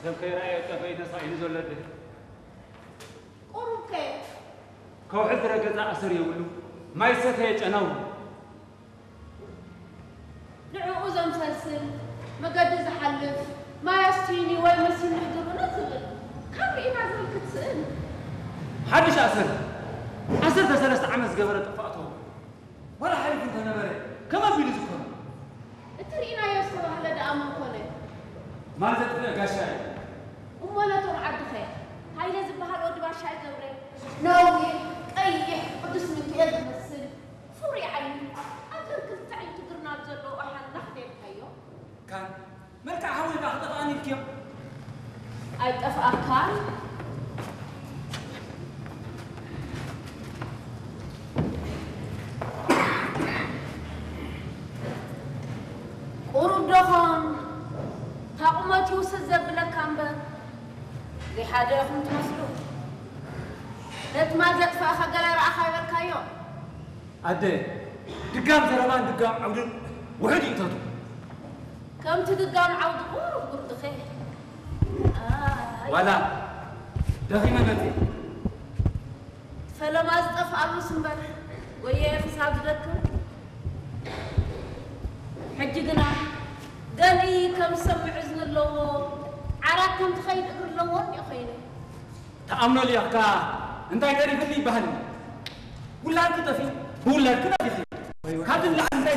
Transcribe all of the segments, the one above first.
ሰብ ከይረኣየ ጠፈይ ተሳኢኑ ዘሎ ኣደ። ቁሩብ ከ ከውሒ ዝረገጸ ኣሰር የብሉ፣ ማይ ዝሰተየ ጨናው። ንዕኡ ዘምሰልስል፣ መገዲ ዝሓልፍ፣ ማይ ኣስትዩኒ ወይ መሲኒ ሕድሩኒ ዝብል፣ ካብ ርኢና ዝብል ክትስእን። ሓድሽ ኣሰር፣ ዓሰርተ ሰለስተ ዓመት ዝገበረ ጥፋእቶ፣ ዋላ ሓሊፉ እንተነበረ፣ ከም ኣቢሉ ዝኮነ። እቲ ርኢናዮ ዝተባህለ ደኣ መን ኮነ? ማል ዘጥፍእ ጋሻ እዩ። እሞ ነቶም ዓድኸ? ሃይለ ዝበሃል ወዲ ባሻይ ገብረ፣ ነዊሕ፣ ቀይሕ፣ ቅዱስ ሚካኤል ዝመስል፣ ፍሩይ ዓይኒ፣ ኣብ ገርክልተ ኣዒንቱ ግርናብ ዘለዎ ሓናኽ ደልካዮ? ካን መልክዕ ሓወይ ከኣ ክጠፍኣኒ ኢልክዮ። ኣይጠፍኣካን። ቁሩብ ዶኾን ታቑመት ይውስድ ዘብለካ እምበር ዘይሓደ ኢኹም ትመስሉ። ነቲ ማል ዘጥፋእኻ ገለ ረኣኻ ይበልካዮ። ኣደ፣ ድጋም ዘረባን ድጋም ዓውድን ውሑድ ይእተቱ። ከምቲ ድጋም ዓውዲ ቁሩብ ጉርድኸ። ኣይ። ዋላ ደኺመ መጺእ። ፈለማ ዝጠፍኣሉስ እምበር ወየ ክሳብ ዝደክም። ሕጂ ግና ገሊ ከም ዝሰምዕ እዝኒ ኣለዎ፣ ዓራት ከም ትኸይድ እግሪ ኣለዎ እንዲዮ ኸይነ። ተኣምኖ ልኢኽካ እንታይ ተሪፍኒ ይበሃል። ውላድኪ ጠፊኡ ብውላድኪ ነፊኺ። ካብዚ ንላዕሊ እንታይ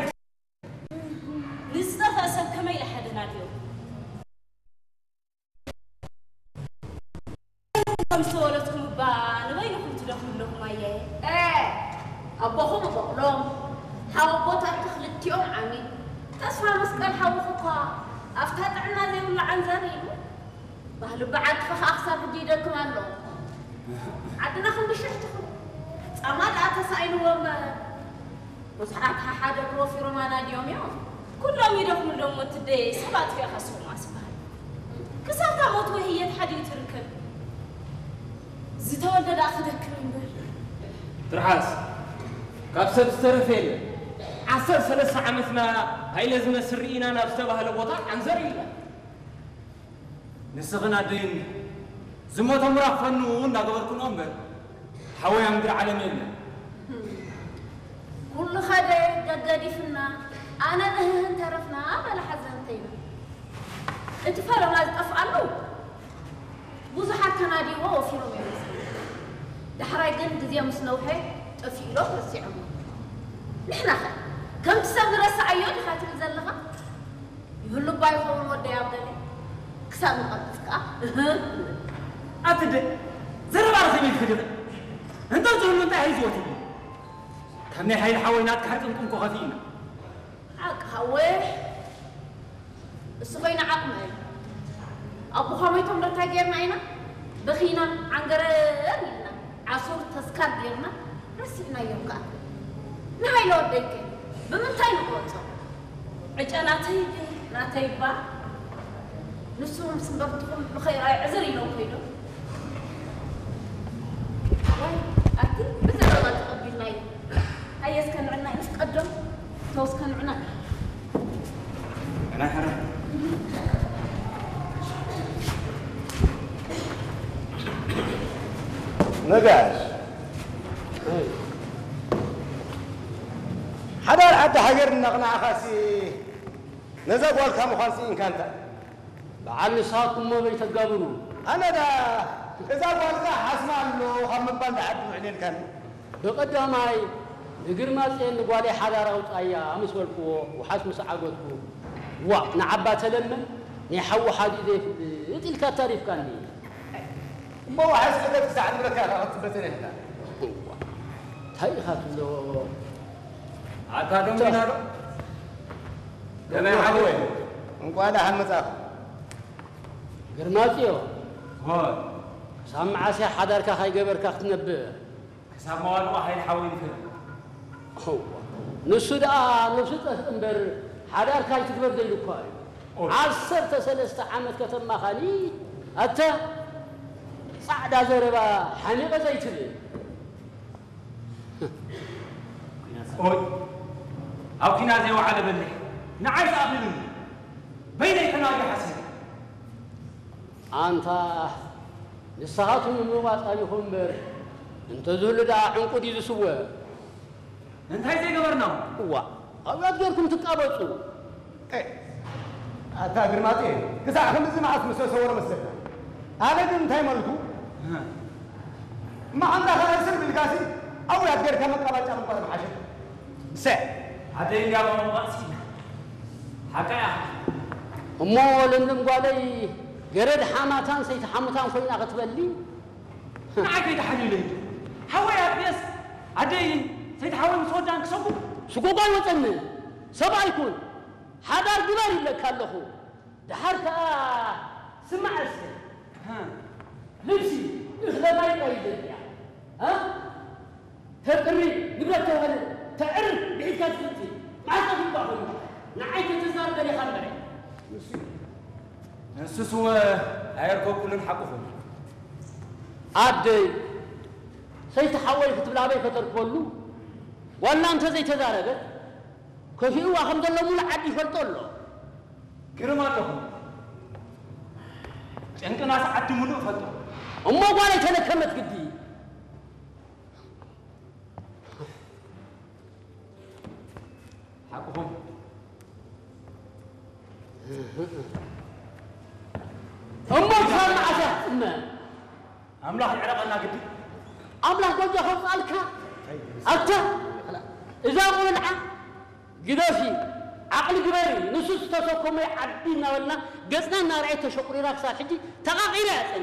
ንዝጠፍአ ሰብ ከመይ ኢለ ሓደናድዮ? ከም ዝተወለድኩም እባ ንበይንኹም ትደኽሙ ኣለኹም ኣየ። እ፣ ኣቦኹም በቕሎም፣ ሓወቦታትኪ ክልቲኦም ዓሚ። ተስፋ መስቀል ሓውኺ እኳ ኣብታ ጥዕና ዘይብሉ ዓንዛር ኢሉ። ባህሊ በዓልቲ ኸኣ ክሳብ ሕጂ ይደክም ኣሎ። ዓድና ክንዲ ሽሕ ትኹን። ጻማ ደኣ ተሳኢንዎ እምበር። ብዙሓት ሓሓደ ፕሮፊሮም ኣናድዮም እዮም። ኩሎም ይደኽሙ ኣለዎም ወትደይ፣ ሰብ ኣጥፊእኻ ስቑም ኣስበሃል። ክሳብ እታ ሞት ወይ ህየት ሓዲኡ ትርከብ። ዝተወልደ ደኣ ክደክም እምበር። ትርሓስ፣ ካብ ሰብ ዝተረፈ የለን። ዓሰርተ ሰለስተ ዓመትና ሃይለ ዝመስል ርኢና ናብ ዝተባህለ ቦታ ዓንዘር ኢልና። ንስኽን ኣደይን ዝሞቶም ራኽፈኑ እናገበርክንኦ እምበር፣ ሓወይ ኣብ ምድሪ ዓለም የለን። ኩሉ ኸደ ገገዲፍና፣ ኣነ ንህህን ተረፍና በለ ሓዘንተይና። እቲ ፈለማ ዝጠፍኣሉ ብዙሓት ተናድይዎ ወፊሮም እዮም መሰለኒ። ዳሕራይ ግን ግዜ ምስ ነውሐ ጠፊኡ ኢሎም ረሲዖሞ። ንሕናኸ ከምቲ ሰብ ንረስዓዮ ዲኻ ትብል ዘለኻ? ይህሉ እባ ይኸውን ወደይ ኣብ ገለ ክሳብ ንቐብጽ ከኣ እህ። ኣቲ ደ ዘረባ ርኽብ ኢልኪ ድኺ? እንተ ዝህሉ እንታይ ሒዝዎ ትብሊ? ካብ ናይ ሓይሊ ሓወይ ናትካ ሕርቅንቅንኮ ከፊእና። ሓቂ ሓወይ እሱ ኾይኑ ዓቕመ እዩ። ኣቦኻ ሞይቶም ዶ እንታይ ጌርና ኢና? በኺና ዓንገረር ኢልና ዓሱር ተስካር ጌርና ረሲዕናዮም ከኣ። ንሃይለ ወደይከ ብምንታይ ንቆጾ? ዕጨ ናተይ ድዩ ናተይ እባ? ንሱ ምስ እምበርትኹም ንኸይረኣይ ዕዝር ኢሎም ከይዶም። ወይ ኣቲ ብዘረባ ተቐቢልናዮ። ኣየ እስከ ንዕና ይፍቀዶም። ተው እስከ ንዕና። ናይ ሓራ ነጋሽ ሓዳር ዓዲ ሃገር እናቕናዕኻሲ ነዛ ጓልካ ምዃን ስኢንካ እንታ በዓል ንስኻትኩም እሞ በይተጋብሩ። ኣነ ዳ እዛ ጓልካ ሓስማ ኣሎ ካብ ምባል ንዓዲ ውዕል የልካን። ብቐዳማይ ንግርማጽዮን ንጓለይ ሓዳር ኣውጻያ ምስ በልክዎ ውሓስ ምስ ዓገትኩ ዋእ ንዓባ ተለምን ናይ ሓዉ ሓዲኡ ዘይፍልጥ ኢልካ ኣታሪፍካኒ። እሞ ውሓስ ዕገት ክሳዕ ንብለካ ኢኻ ክትበተን ኢኻ። እንታይ ኢኻ ትብሎ? ኣታ ደንጉና ዶ? ገበያ ሓወይ ሓወይ እንቋዕ ደሓን መጻእኻ። ግርማጽዮ ሆይ ክሳብ መዓስ እያ ሓዳርካ ካይገበርካ ክትነብር? ክሳብ መዋልኦ ሓይል ሓወይ ንፈልጥ። እዋ፣ ንሱ ደኣ ነብሱ ጠፍእ እምበር ሓዳር ካይትግበር ዘይሉ እኳ እዩ። ኦይ። ዓሰርተ ሰለስተ ዓመት ከተማኻኒ ኣተ ጻዕዳ ዘረባ ሓሚቐ ዘይትብል። ኦይ ኣብ ኪና ዘይወዓለ በሊሕ ንዓይ ዝኣኽልኒ በይነይ ተናግሪ ሓሲብ። ኣንታ ንስኻትኩም ንምባጻ ኢኹም እምበር፣ እንተዝህሉ ደኣ ዕንቁ ድዩ ዝስወ? እንታይ ዘይገበርና? እዋ፣ ኣብያት ጌርኩም ትቃበጹ። ኤ፣ ኣታ ግርማጤ፣ ክሳዕ ክንድዚ መዓስ ምስ ተሰወረ መስለካ? ኣነ ግን እንታይ መልኩ? እማ ሓንታ ኸኣ ስር ብልካሲ፣ ኣብያት ጌርካ መቃባጫ ምንቋር ምሓሸ። ሰ ኣደይ እንዲያ መመባእሲ ሓቃ እያ። እሞ ለምለም ጓለይ፣ ገረድ ሓማታን ሰይቲ ሓሙታን ኮይና ክትበሊ? ንዓይ ከይተሓልዩለይ። ሓወይ ኣጥቤስ ኣደይን ሰይቲ ሓወይ ምስ ወዳን ክሰጉ። ስጎጓ ኣይወጸኒ። ሰብኣይ ኩን። ሓዳር ግበር ይብለካ ኣለኹ። ደሓር ከኣ ስማዕ እስከ። ሃ። ልብሲ እኽለ ማይ ጥራይ እዩ ዘድልያ። ሃ? ተጥሪ፣ ንብረት ተውህል፣ ተዕርፍ፣ ብሒዝካ ትፍቲ። መዓስ ጠፊእካ ኮይኑ? ንዓይ ተተዛርበ ዲኻ እምበረ። ንሱስ እወ ኣየርከብኩሉን ሓቅኹም። ኣደይ፣ ሰይቲ ሓወይ ክትብል ኣበይ ከተርክበሉ? ዋላ እንተ ዘይተዛረበት፣ ከፊእዋ ከም ዘሎ ሙሉእ ዓዲ ይፈልጦ ኣሎ። ግርም ኣለኹም። ጨንቅናስ ዓዲ ሙሉእ ፈልጦ። እሞ ጓለይ ተለከመት ግዲ። ሓቅኹም። እሞ ክሳብ መዓስ እያ ትጽመ? ኣምላኽ ይዕረቐና ግዲ። ኣምላኽ ጎጆ ከውፅኣልካ። ኣታ እዛ ቆልዓ ግደፊ፣ ዓቕሊ ግበሪ፣ ንሱ ዝተሰከሞ ዓዲ እናበልና ገፅና እናርኣየት ተሸቑሪራ ክሳብ ሕጂ ተቓቒራ እያ ፀኒሓ።